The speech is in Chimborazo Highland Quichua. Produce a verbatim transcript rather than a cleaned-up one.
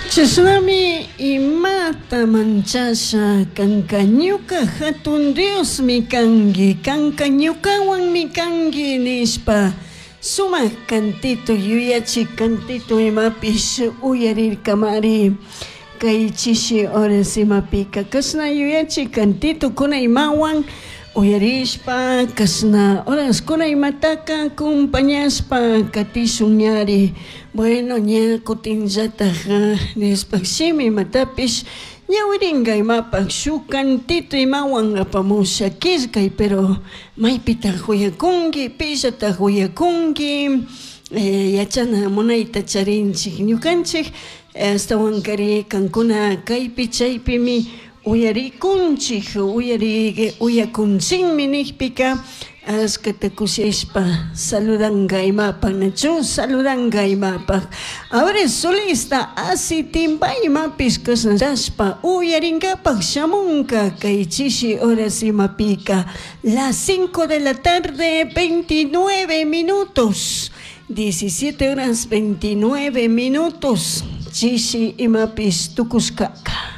Chashnami imata manchasha, kanka ñuka jatun Diosmi kanki, kanka ñukawanmi kanki nishpa sumak cantito yuyachik cantito imapish uyarirkamari kay chishi horas imapika kashna yuyachik cantitokuna imawan uyarishpa kashna horaskuna imataka acompañashpa katishun ñari. Bueno, ña kutinllatak Dioshpak shimi imatapish ñawirinka imapak shuk cantito imawan apamusha killkay, pero maypitak uyakunki, pillatak uyakunki, yachana munayta charinchik ñukanchik ashtawankari kankuna kaypi chaypimi uyarikunchik, uyari uyakunchikmi nikpika ashkata kushishpa saludanka imapak, nachu saludanka imapak. Ahora solista Asitimbay imapish kashnashpa uyarinkapak shamunka kay chishi horas imapika las cinco de la tarde veintinueve minutos, diecisiete horas veintinueve minutos, chishi imapish tukushkaka.